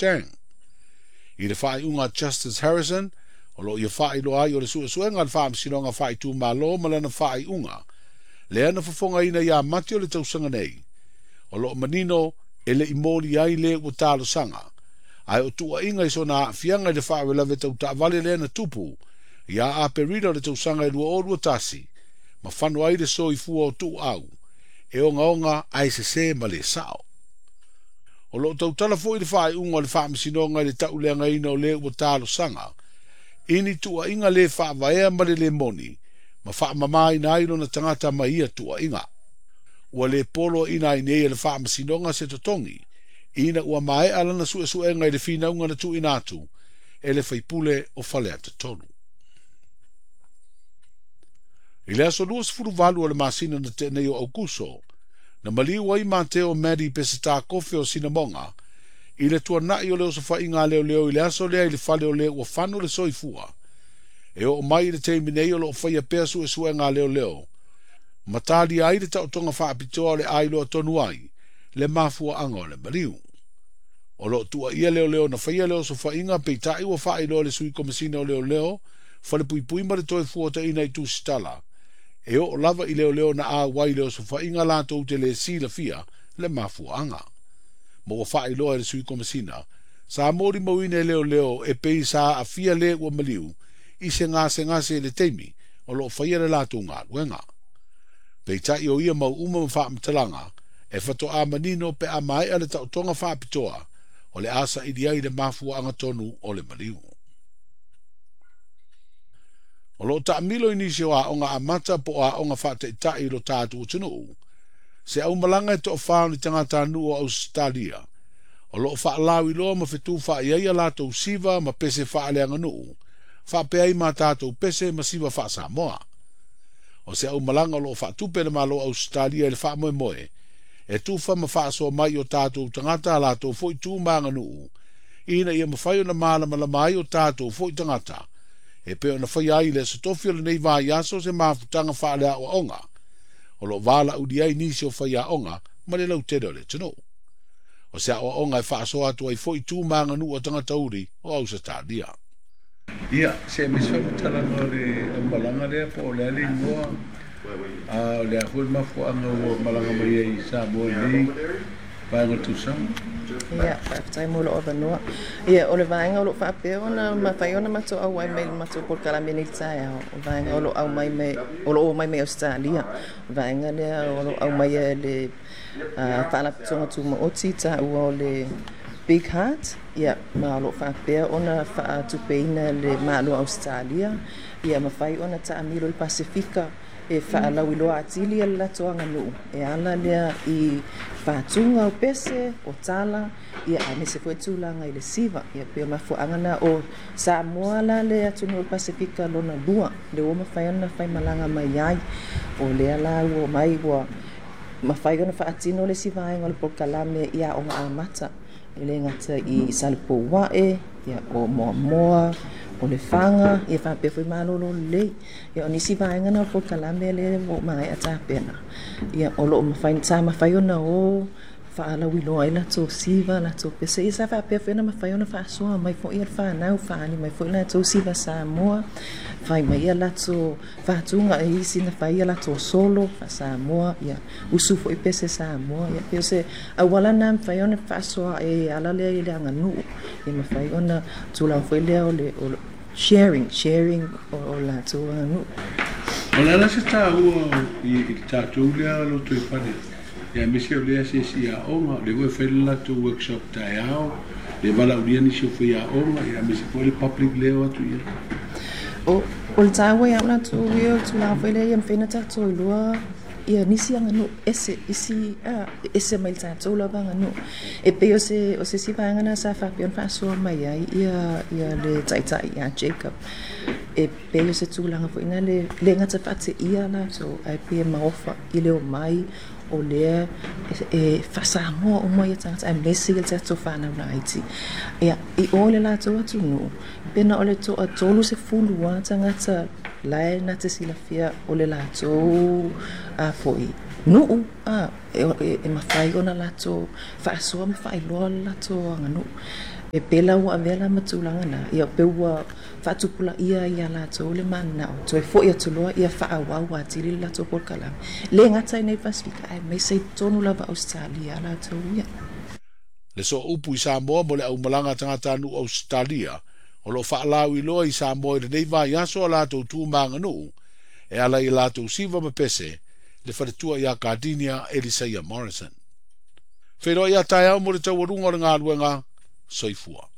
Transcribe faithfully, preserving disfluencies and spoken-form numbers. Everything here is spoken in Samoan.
Chang. I le faaiuga a Justice Harrison, o loo ia faailoa ai o le suesuega a le Faamasinoga Faaitumalo ma lana faaiuga lea na fofogaina ia Mati o le tausaga nei, o loo manino e le i moli ai le ua talosaga, ae o tuuaiga i sona aafiaga i le faalavelave tau taavale lea na tupu ia Aperila o le tausaga e lua o lua tasi, ma fano ai le soifua o Tuuau, e ogaoga ae sesē ma le sao. O loo tautala foi le faaiuga o le Faamasinoga i le tauleagaina o le ua talosaga i ni tuuaiga le faavaea ma le le moni, ma faamamaina ai lona tagata mai ia tuuaiga. Ua le poloaiina ai nei e le Faamasinoga se totogi, ina ua maea lana suesuega i le finauga na tuuina atu e le faipule o Faleata tolu. I le aso luasefuluvalu o le masina na tea nei o Aukuso, na maliu ai Mateo Madi Peseta Kofe o Sinamoga i le tuanai o le osofaiga a leoleo i le aso lea i le fale o le ua fano le soifua. E oo mai i le taimi nei o loo faia pea suesuega a leoleo, ma talia ai le taotoga faapitoa o le ailoa tonu ai le mafuaaga o le maliu. O loo tuuaia leoleo na faia le osofaiga, peitai ua faailoa le sui komesina o leoleo, Falepuipui ma le toe fuataina i tusitala, e oo lava i leoleo na auai le osofaiga latou te le silafia le mafuaaga. Ma ua faailoa e le sui komesina, sa molimauina e leoleo e pei sa aafia le ua maliu i se gasegase i le taimi o loo faia le latou galuega. Peitai o ia mau uma ma faamatalaga e faatoa manino pe a maea le taotoga faapitoa o le a saili ai le mafuaaga tonu o le maliu. O loo taamilo i nisi o aoga amata po o aoga faataitai i lo tatou atunuu se aumalaga e toafā o ni tagatanuu o Ausetalia o loo faalauiloa ma fetufaai ai latou siva ma pese faaleaganuu faapea ai ma tatou pese ma siva faasamoa. O se aumalaga o loo faatupe le Malo Ausetalia i le faamoemoe e tufa ma faasoa mai o tatou tagata a latou foi tu ma aganuu, ina ia mafai ona malamalama ai o tatou foi tagata e pei ona faia ai le aso tofi o lenei vaiaso se mafutaga faaleaoaoga o loo valaaulia ai nisi o faiaoga ma le lautele o le atunuu. O se aoaoga e faasoa atu ai foi tu ma aganuu a tagata uli o Ausetalia. Ia, se me faamatalaga o le aumalaga lea po o le a le igoa, a o le a foi le mafuaaga ua malaga mai ai i Samoa i nei vaega o le tausaga. Ia, faafetai mo lou avanoa. Ia, o le vaega o loo faapea ona mafai ona matou auai mai le matou polokalame nei le taeao, o vaega o loo aumai mai o loo omai mai Ausetalia. O vaega lea o loo aumai e le Faalapotopotoga Tumaoti taua o le Big Heart, ia ma o loo faapea ona faatupeina le Malo Ausetalia, ia mafai ona taamilo i le Pasefika e faalauiloa atili le latou aganuu e ala lea i faatuga o pese o tala, ia aemaise foi tulaga i le siva. Ia pei o mafuaaga na o Samoa la le atunuu o le Pasefika lona lua le ua mafai ona faimalaga mai ai. O lea la ua mai ua mafai ona faatino le isi vaega o le polokalame i aoga amata e le gata i Salepouae, ia o Moamoa, o Lefaga, ia faapea foi Malolo Lelei. Ia o nisi vaega na o le polokalame lea ua maea tapena, ia o loo mafai sa mafai ona o faalauiloa ai latou siva, latou pese. Ia sa faapea foi ona mafai ona faasoa mai foi le fanau, faaali mai foi latou siva Samoa, fai mai ia latou faatuga e isi na fai ia latou solo faa-Samoa, ia usu foi pese Samoa. Ia pei o se auala na mafai ona faasoa e ala lea i le aganuu, ia mafai ona tulaga foi lea o le o sharing sharing o, o latou aganuu. O le ala se taua i i le tatou lea lotoifale, ia aemaise o lea asiasi aoga, o lea foi e fai le latou workshop taeao, le valaaulia nisi o faiaoga, ia aemaise foi le public lea o atu i ai. O, o le taua ia au latou ia o le tulaga foi lea ia mafai ona tatou iloa ia nisi aganuu ese isi a ese mai le tatou lava aganuu. E pei o se o se isi vaega na sa faapea ona faasoa mai ai ia ia le taitai ia Jacob, e pei o se tulaga foi na le le gata faateia latou ae pei e maofa i le omai o lea e faasamoa uma ia tagata aemaise ia le tatou fanau laiti. Ia i o le latou atunuu pe na o le toatolu sefulu a tagata la e na te silafia o le latou a foi nuu a e, e, e mafai ona latou faasoa ma faailoa le latou aganuu. E pela ua avea la ma tulaga na ia pe ua faatupulaia ia latou le mananao toe fo'i atu loa ia faaauau atili le latou polokalame le gata i nei Pasefika aemaise i totonu lava Ausetalia latou ia. Le sooupu i Samoa mo le aumalaga tagatanuu Ausetalia o loo faalauiloa i Samoa i lenei vaiaso a latou tu maganuu e ala i latou siva ma pese le faletua ia Cardinia Elisaia Morrison. Feiloai a taeao mo le taualuga o le galuega, soifua.